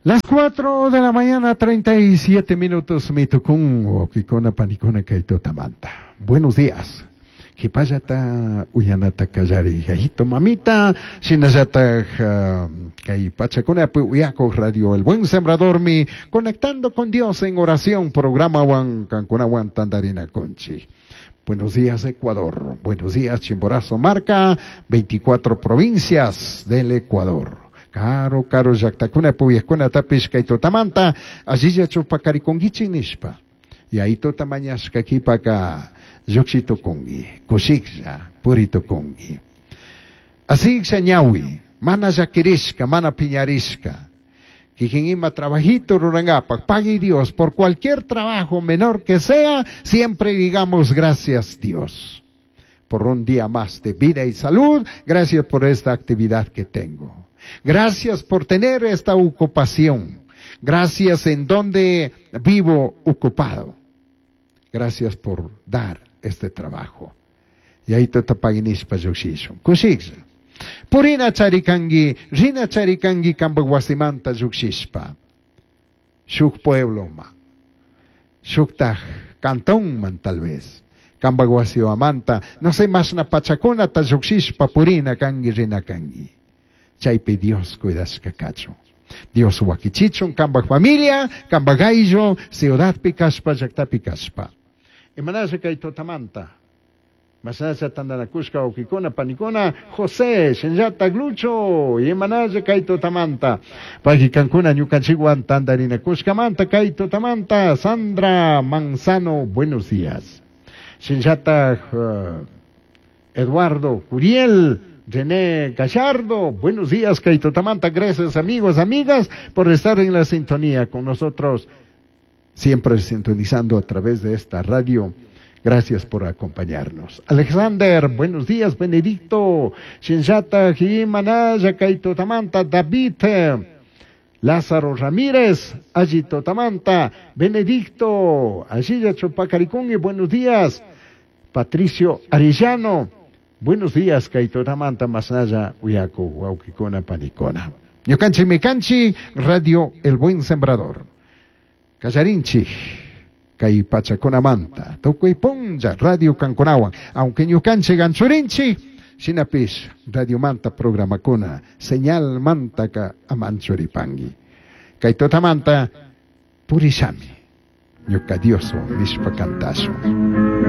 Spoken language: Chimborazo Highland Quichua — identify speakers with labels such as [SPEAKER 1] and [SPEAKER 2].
[SPEAKER 1] Las 4 de la mañana, 37 minutos, mitukun, wawkikuna, panikuna, kay tutamanta. Buenos días. Kipallata uyanata kallari, yayito, mamita, shinallataj kay pachakunapi uyakuj Radio El Buen Sembradormi, conectando con Dios en oración, programawan, kankunawan tantarinakunchik. Buenos días, Ecuador. Buenos días, Chimborazo Marca, 24 provincias del Ecuador. Karu, karu llaktakuna puyajkunatapish kay tutamanta allilla chupakarikunkichik nishpa. Yayituta mañashka kipaka llukshi tukunki, kushiklla puri tukunki. Asiklla ñawi, mana llakirishka, mana piñarishka. Kikin ima trabajito rurangapak, pague Dios por cualquier trabajo menor que sea, siempre digamos gracias, Dios, por un día más de vida y salud, gracias por esta actividad que tengo. Gracias por tener esta ocupación. Gracias en donde vivo ocupado. Gracias por dar este trabajo. Y ahí te tapaginishpa llukshishun. Kushiklla. Purina charikangi, rina charikangi kambak wasimanta llukshishpa. Shuk puebloma. Shuktaj cantonman tal vez. Kambak wasiwamanta, no sé, mashna pachakunata llukshishpa purina kangi, rina kangi. Chaypi Dios cuidashka kachun. Dios wakichichun kambak familia, kambak ayllu, ciudadpi kashpa, llaktapi kashpa. Imanasha kay tutamanta. Masasha tandanakushka wawkikuna, panikuna, José, Shinllata Glucho, imanasha kay tutamanta. Pagikankuna ñukanchikwan tandarinakushkamanta kay tutamanta, Sandra Manzano, buenos días. Shinllata Eduardo Curiel, René Gallardo, buenos días, kay tutamanta, gracias, amigos, amigas, por estar en la sintonía con nosotros, siempre sintonizando a través de esta radio. Gracias por acompañarnos. Alexander, buenos días, Benedicto, Shinjata, Jimanaya, Kaito Tamanta, David, Lázaro Ramírez, Ayito Tamanta, Benedicto, Ayilla Chupacaricungui, buenos días, Patricio Arellano, buenos días, Kaito Tamanta, Masaya, Uyaku, Wawkikuna, Panikuna. Ñukanchi Mikanchi, Radio El Buen Sembrador. Kallarinchi, kay pachakunamanta, tukuy punlla, Radio Kankunawan, aunque ñukanchi ganchurinchi, shinapish, Radio Manta programakuna, señal mantaka amanchuripangi. Kay tutamanta, purishami, ñuka Dioswan nishpa kantashun.